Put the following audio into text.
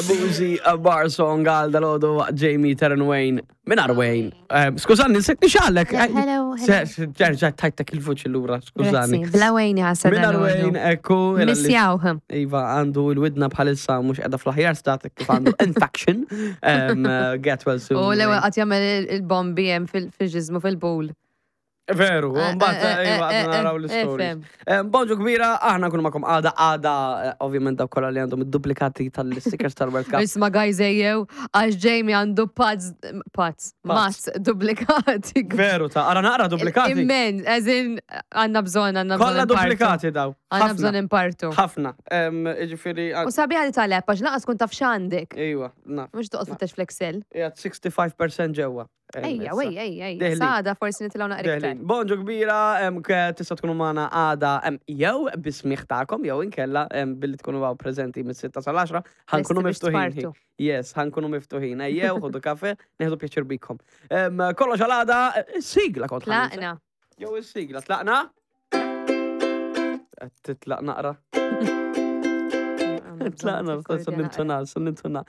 Boozy, a bar song għal dal-ħodu waqt Jamie Terran Wayne. Minar Wayne. Eh, Skużani, nsejt nixgħalek. Hello, hello. Ġerġa tajtek il-vuċi l-ura, skużani. Grazzi, Bla Wayne jħassa Minar dal-ħodu. Wayne, ekku. Missjawh. Iva, għandu il-widna bħalissa mux edha fl-aħjar stat kif għandu infection. Um, uh, get well soon. U l-ewwel Wayne. qatt jagħmel il-bombi hemm fil-ġiżmu fil-bul. Veru, Eh, mbagħad eh, eh, iva, eh, għadna naraw eh, l-stories. fem. Eh, Bonġu kbira, aħna nkunu magħkom għada, għada, eh, ovvjament dawk kollha li għandhom id-duplikati tal-stickers tal-World Cup. Isma guys ejjew, għax Jamie għandu pads, pads, mats duplikati. Veru ta' ara naqra duplikati. Immen, as in, għanna bżon, għanna bżon. Kollha impartu. duplikati daw. Għanna Ħafna. bżon impartu. Ħafna. Em, Ġifieri, U sabiħa li tal-app, għax laqas kun taf x'għandek. Iva, naf. Mux toqgħod fittex fl-Excel. Qiegħed 65% ġewwa. Em, Ejja, issa. ejja, ejja, ejja. Deħlin. Sada forsi nitilgħu naqra iktar. Deħlin. Bonġu kbira, em, ke- tista' tkunu magħna għada em, jew bismiħ tagħkom jew inkella em, billi tkunu għaw preżenti mis-6 sal-10 ħankunu Lesti biex miftuħin. tpartu. Yes, ħankunu miftuħin. Ejjew, ħudu kafe, neħdu pjaċir bikom. Em, Kollox għal għada, eh, sigla kont ħanninsa. Tlaqna. Jew is-sigla, tlaqna? Qed Titlaq naqra. Tlaqna, Bżonn sun nintuna, sun nintuna.